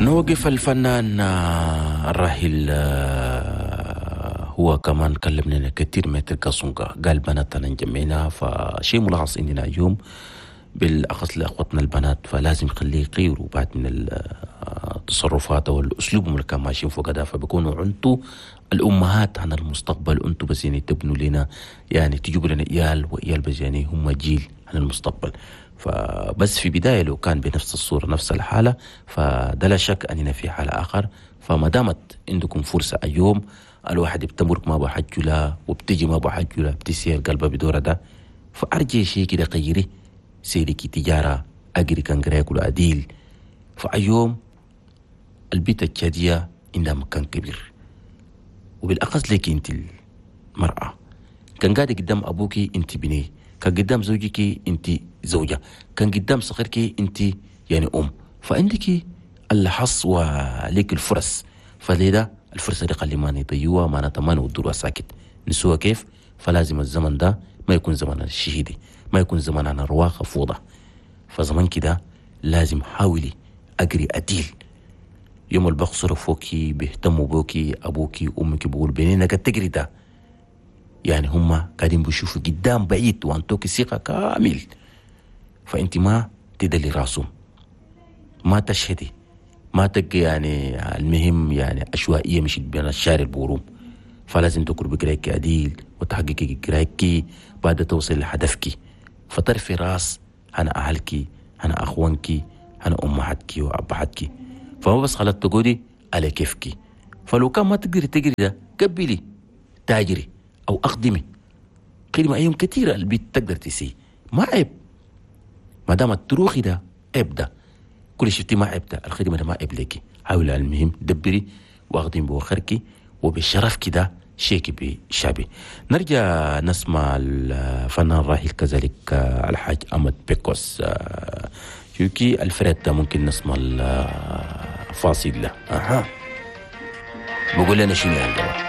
نوقف الفنان الراحل، هو كمان كلم لنا كثير من القصنقة، قال بناتنا نجمعنا. فشيء ملاحظ عندنا اليوم بالأخص لأخوتنا البنات، فلازم خليه يغيروا بعد من التصرفات أو الأسلوب اللي كان ماشيين فوق ده، فبيكونوا أنتوا الأمهات عن المستقبل، أنتوا بس يعني تبنوا لنا، يعني تجيبوا لنا إيال وإيال بس يعني هم جيل عن المستقبل. فبس في بداية لو كان بنفس الصورة نفس الحالة فده لا شك أننا في حالة آخر. فما دامت عندكم فرصة اليوم الواحد بتمرك ما بحجلة وبتجي ما بحجلة بتسير قلبه بدورة ده، فأرجع شيء كده غيري سيرك تجارة أجري كان قرايك أديل. فأيوم البيت التشادية عندها مكان كبير، وبالأخص لك أنت المرأة، كان قاعدة قدام أبوك أنت بني، كان قدام زوجك أنت زوجة، كان قدام صغيرك أنت يعني أم، فعندك الحظ وليك الفرص. فلذا الفرصة دي خلي ما نضيعوها، ما نتمنى ودروها ساكت نسوها كيف. فلازم الزمن ده ما يكون زمن الشهيدي، ما يكون زمن عن الرواقة فوضى. فزمن كده لازم حاولي أجري أديل. يوم البخصر فوكي بيهتموا بوكي أبوكي أمك بيقول بيننا قد تجري ده، يعني هم قاعدين بيشوفوا قدام بعيد وأنتوكي ثقة كامل. فأنت ما تدلي راسهم، ما تشهدي، ما تبقي يعني المهم يعني عشوائية مش بين الشارع البوروم. فلازم تكون بقرايك عديل وتحققي قرايك بعد توصل لهدفك. فترفي راس أنا أهلك، أنا أخوانك، أنا أمهاتك وأبهاتك. فما بس خلت تقولي على كيفك. فلو كان ما تقدري تجري ده قبلي تاجري أو أخدمي خدمة أيام كثيرة البيت تقدر تسي، ما عيب ما دام التروخي ده عيب، ده كل شفتي ما عيب، ده الخدمة ده ما عيب لك. حاولي المهم دبري واخدمي بوخركي وبشرف كده شيكي بشعبي. نرجع نسمع الفنان الراحل كذلك الحاج أحمد بيكوس شوكي الفريد ده، ممكن نسمع الفاصل له. بقول لنا شنو يا جماعة.